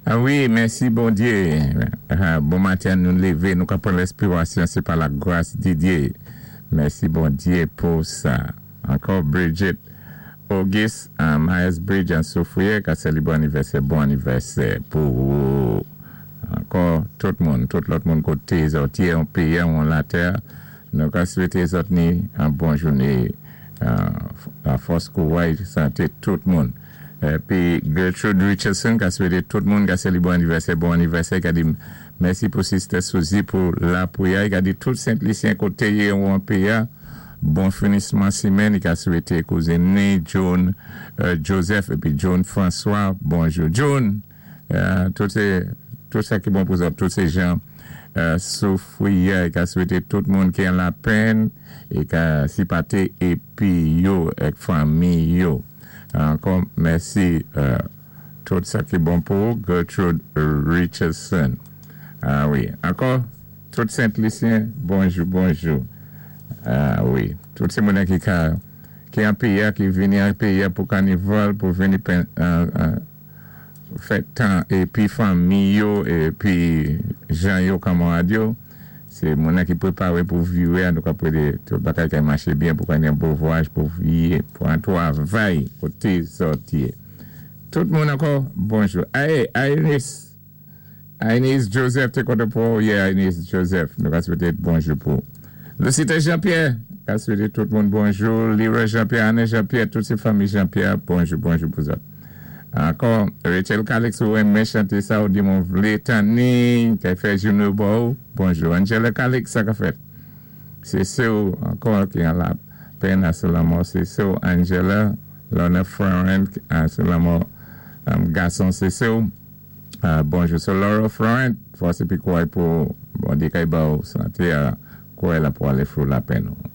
Ah wi, mèsi Bondyé. Bon maten, nou lévé, nou ka pran lèspirasyon, sé pa lagras di Dyé. Mèsi Bondyé pou sa. Ankò Bridget Auguste, Myers Bridge an Soufrière ka sélébwé anivèsè, bon anivèsè pou ou. Ankò tout moun, tout lòt moun koté zòt yé an péyi ou an latè, nou ka swété zòt ni an bon jouné, lafòs, kouray, santé tout moun. Épi Gertrude Richardson ka swété tout moun ka sélébwé anivèsè, bon anivèsè, ka di mèsi pou Sister Suzy pou lapriyè, ka di tout Sent Lisyen koté yé ou an péyi a, bon finisman simèn, i ka swété kouzin ni June Joseph épi June François, bonjou June, tout sé tout sa ki bon pou zòt, tout sé jan Soufriyè, i ka swété tout moun ki an lapenn i ka sipaté épi yo èk fanmi yo. Ankò mèsi tout sa ki bon pou ou Gertrude Richardson. Ah wi, ankò tout Sent Lisyen bonjou bonjou. Ah wi, tout sé moun ki ka ki an péyi a ki vini an péyi a pou kanival pou vini fè tan épi fanmi yo épi jan yo kanmarad yo sé moun ki préparé pou viré an nou ka pwété tout bagay ka maché byen pou ka ni an bon vwayaj pou vié pou an twavay koté zòt yé. Tout moun ankò bonjou. Ay Iris Inez Joseph té kontan pou ou yè Inez Joseph nou ka swété bonjou pou ou. Lucita Jean Pierre ka swété tout moun bonjou Leroy Jean Pierre Anne Jean Pierre tout sé fanmi Jean Pierre bonjou bonjou pou zòt. Ankò Rachel Calix ou renmen chanté sa ou di m ou vlé tanni kay fè jounou ba ou bonjou Angela Calix sa ka fèt sé sè ou ankò ki an lapèn a sou lanmò sé sè ou Angela Lorna Florent a sou lanmò gason sé sè ou. Bonjou sè Laurel Florent, fòs épi kouray pou Bondye kay ba ou santé a kouray la pou alé fou lapenn ou.